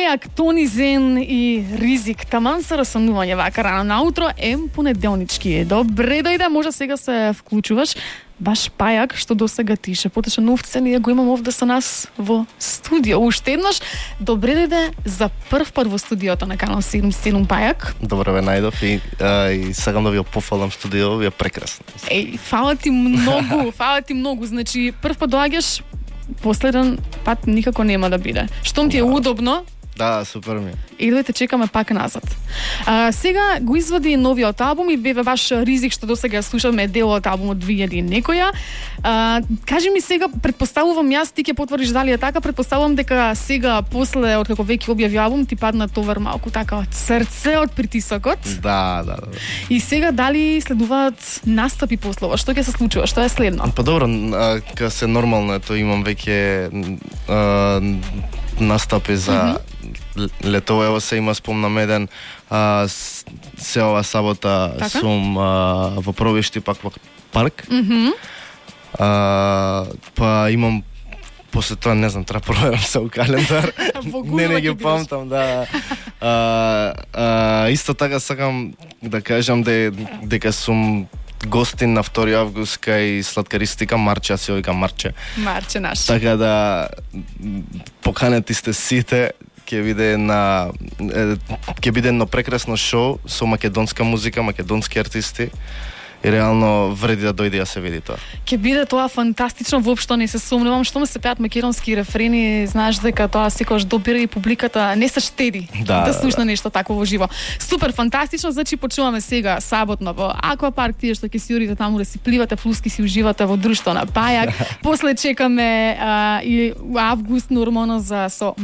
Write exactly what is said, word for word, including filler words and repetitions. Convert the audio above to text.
Пајак, Тони Зен и Ризик. Таман се расонување вака рано наутро, ем понеделнички. Добре дојде, може сега се вклучуваш. Баш Пајак, што досега тише. Потеше новце, ние го имам овде со нас во студио. Уште еднаш, добре дојде за прв пат во студиото на Канал седум седум Пајак. Добро ве најдов и, а, и сакам да ви пофалам студио, ви е прекрасно. Еј, фала ти многу, фала ти многу. Значи, прв пат доаѓаш, последен пат никако нема да биде. Штом ти е удобно, да, супер ми. и дојте чекаме пак назад. А, сега го извади новиот албум и беве баш Ризик, што досега слушаме дел од албумот две илјади и некоја. А, кажи ми сега, предпоставувам јас, ти ќе потврдиш дали е така, предпоставувам дека сега, после, од како веќе објави албум, ти падна товар малку така од срце, од притисокот. Да, да, да. И сега дали следуваат настапи после ова? Што ќе се случува? Што е следно? Па добро, а, ка се нормално ето имам веќе а, настапи за mm-hmm. лето, ево се има спомнам еден а, се ова сабота така? Сум а, во Провишти пак во парк. Mm-hmm. А, па имам после тоа не знам, треба проверам се у календар. не не ги памтам, да. А, а, исто така сакам да кажам де, дека сум гостин на втори август кај сладкаристика Марче, се вика Марче. Марче наш. Така да поканети сте сите, ќе биде на ќе биде едно прекрасно шоу со македонска музика, македонски артисти. И реално вреди да дојде да се види тоа. Ќе биде тоа фантастично, воопшто не се сомневам, што ме се пеат македонски рефрени, знаеш дека тоа секогаш добира и публиката не се штеди да, да слушна да. нешто такво во живо. Супер, фантастично, значи почуваме сега саботно во Аквапарк, тие што ќе си јурите таму да си пливате, флуски си уживате во друштво на Пајак. После чекаме а, и август нормално за со